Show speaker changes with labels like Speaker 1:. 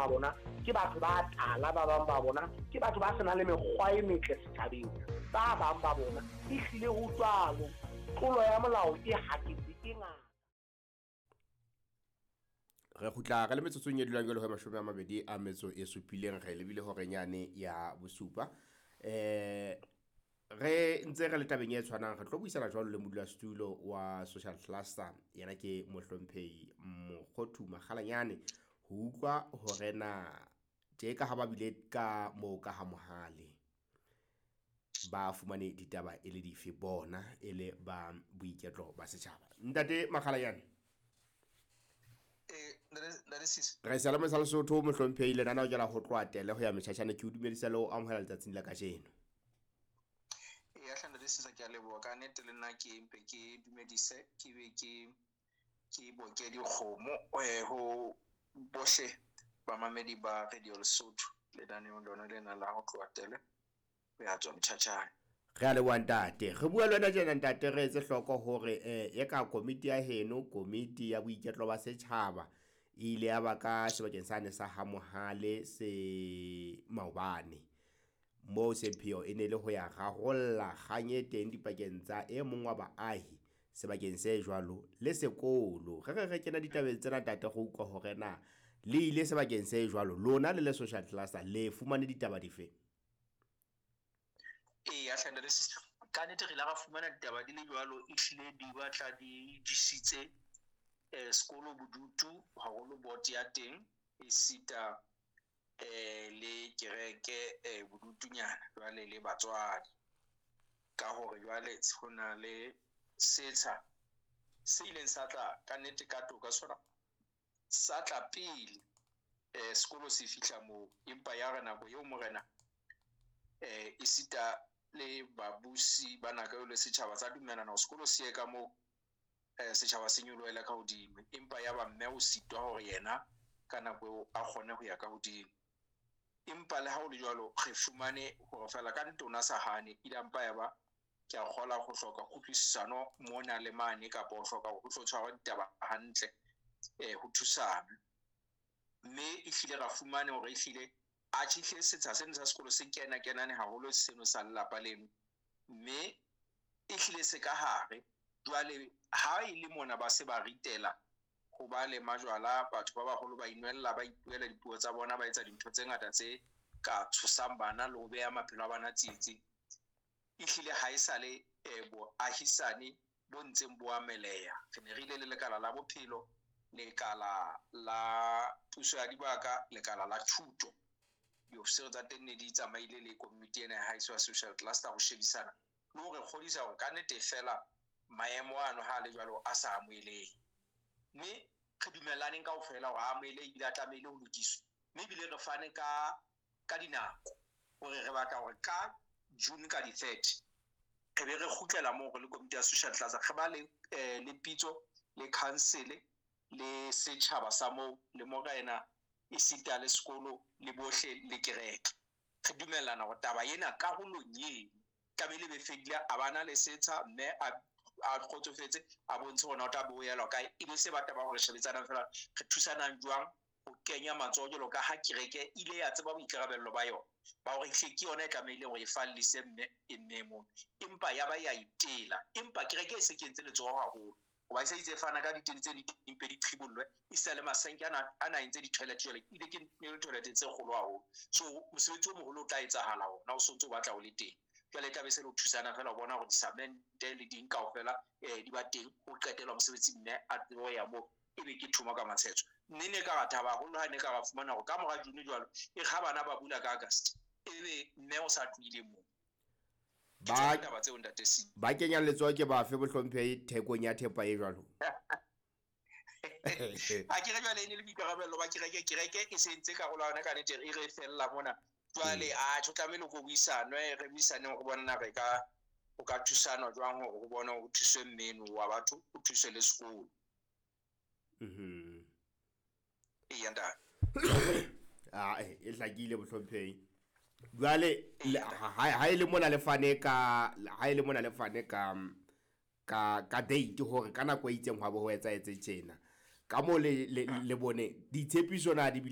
Speaker 1: ba bona ke batho ba tala, ba bang ba bona ke batho ba senang le mekgwa e metle setjhabeng, ba bang ba bona ehlile ho jwalo. Tlolo ya molao e haketse e ngata.
Speaker 2: Re kgutla re le metsotsong e dulang jwalo ho 27, re lebile horeng yane ya bosupa. Re ntse re le tabeng e tshwanang, re tlo buisana jwalo le modulasetulo wa social cluster, yena ke mohlomphehi Mokgothu Makgalanyane, ho utlwa hore na tje ka ha ba bile ka moo ka ha Mohale ba fumane ditaba e le dife bona e le ba boiketlo ba setjhaba. Ntate Makgalanyane, re sa le sa Lesotho mohlomphehi, lenaneo ke la ho tloha tele ho ya metjhatjhane. Ke o dumedisa le ho amohela letsatsing la kajeno.
Speaker 3: Eya hle ntate Sisa, ke a leboha ka nnete. Le nna ke mpe ke dumedise, ke be ke boke dikgomo ho bohle bamamedi ba Radio Lesotho lenaneong lona lena la ho tloha tele ho ya tswa motjhatjhane.
Speaker 2: Re a leboha ntate. Re bua le wena tjena ntate, re etse hloko hore e ka komiti ya heno, komiti ya boiketlo ba setjhaba, e ile ya ba ka sebakeng sane sa ha Mohale se maobane, moo sepheo e ne le ho ya rarolla kgang e teng dipakeng tsa e mong wa baahi sebakeng se jwalo le sekolo. Re re re kena ditabeng tsena ntate, re utlwa hore na le ile sebakeng se jwalo, lona le le social cluster le fumane ditaba dife?
Speaker 3: Eya hle ntate Sisa, ka nnete re ile ra fumana ditaba di le jwalo, ehlile di batla di jesitse sekolo bodutu haholo, board ya teng esita le kereke bodutunyana jwale le batswadi, ka hore jwale ho na le setsha se ileng sa tla ka nnete ka toka, sona sa tla pele sekolo se fihla moo, empa ya re nako eo morena esita le babusi ba nako eo le setjhaba sa dumellana hore sekolo se ye ka moo, setjhaba se nyolohele ka hodimo, empa ya ba mme o sitwa hore yena ka nako eo a kgone ho ya ka hodimo. Empa le ha ho le jwalo, re fumane hore fela ka nnete o na sa hane, ile mpa ya ba ke a kgola ho hloka kutlwisisano mona le mane, kapa ho hloka hore ho tlo tshwarwa ditaba hantle, ho thusana. Mme ehlile ra fumane hore ehlile atjhe ehlile setsha seno sa sekolo se kena kenane haholo seno sa lelapa leno, mme ehlile se ka hare. Jwale ha e le mona ba se ba ritela ho ba le majwala, batho ba baholo ba inwella, ba ipuela dipuo tsa bona, ba etsa dintho tse ngata tse ka tshosang bana le ho beha maphelo a bana tsietsing. Ehlile ha e sale boahisane bo ntseng bo ameleha. Re ne re ile le lekala la bophelo, lekala la puso ya dibaka, lekala la thuto. Diofisiri tsa teng ne di tsamaile le komiti ena ya haeso ya social cluster ho shebisana le hore kgodisa hore ka nnete fela maemo ano ha a le jwalo a sa amohelehe. Mme re dumellaneng kaofela hore a amohelehe ebile a tlamehile ho lokiswa. Mme ebile re fane ka dinako hore re batla hore ka June ka di-30 re be re kgutlela moo re le komiti ya social cluster, re ba le pitso le council le setjhaba sa moo le morena esita le sekolo le bohle le kereke. Re dumellana hore taba ena karolong eno tlamehile be fedile, a bana le setsha mme a kgotsofetse, a bontshe hore na o tla bo elwa kae. E be se ba taba hore shebetsanang fela, re thusanang jwang ho kenya matsoho jwalo ka ha kereke ile ya tseba boikarabello ba yona ba hore ehlile ke yona e tlamehileng hore e fallise mme e mme mono, empa ya ba ya itela. Empa kereke e se kentse letsoho haholo hoba e se itse fana ka ditene tse di mpe di qhibollwe, e sa le masenke ana entse di-toilet jwale, ebile ke toilet tse kgolo haholo. So mosebetsi o moholo o tla etsahala ona o sontso o batla o le teng. Jwale e tla be se le ho thusana fela ho bona hore disamente le ding kaofela di ba teng, ho qetelwa mosebetsi mme a tsebe ho ya moo, ebe ke thomo ka matshetso. Mme ne ka ra thaba haholo ha ne ka ra fumana hore ka mora June jwalo, e re ha bana ba bula ka August, ebe mme o sa tlohile moo.
Speaker 2: Ba
Speaker 3: taba tseo ntate Si.
Speaker 2: Ba kenyang letsoho ke bafe bohlomphehi thekong ya thepa e jwalo?
Speaker 3: A ke re jwale e ne le boikarabello ba kereke, kereke e se entse karolo ya yona ka nnete, e re fella mona. Jwale a tjho tlamehile ko buisanwe, re buisaneng ho bona re ka ho ka thusanwa jwang hore ho bona ho thuswe mmeno wa batho, ho thuswe le sekolo. Eya ntate.
Speaker 2: E hlakile bohlomphehi. Jwale ha e le mona le fane ka, ha e le mona le fane ka, ka date hore ka nako e itseng hwa bo ho etsahetse tjena. Ka moo le bone ditshepiso na di bile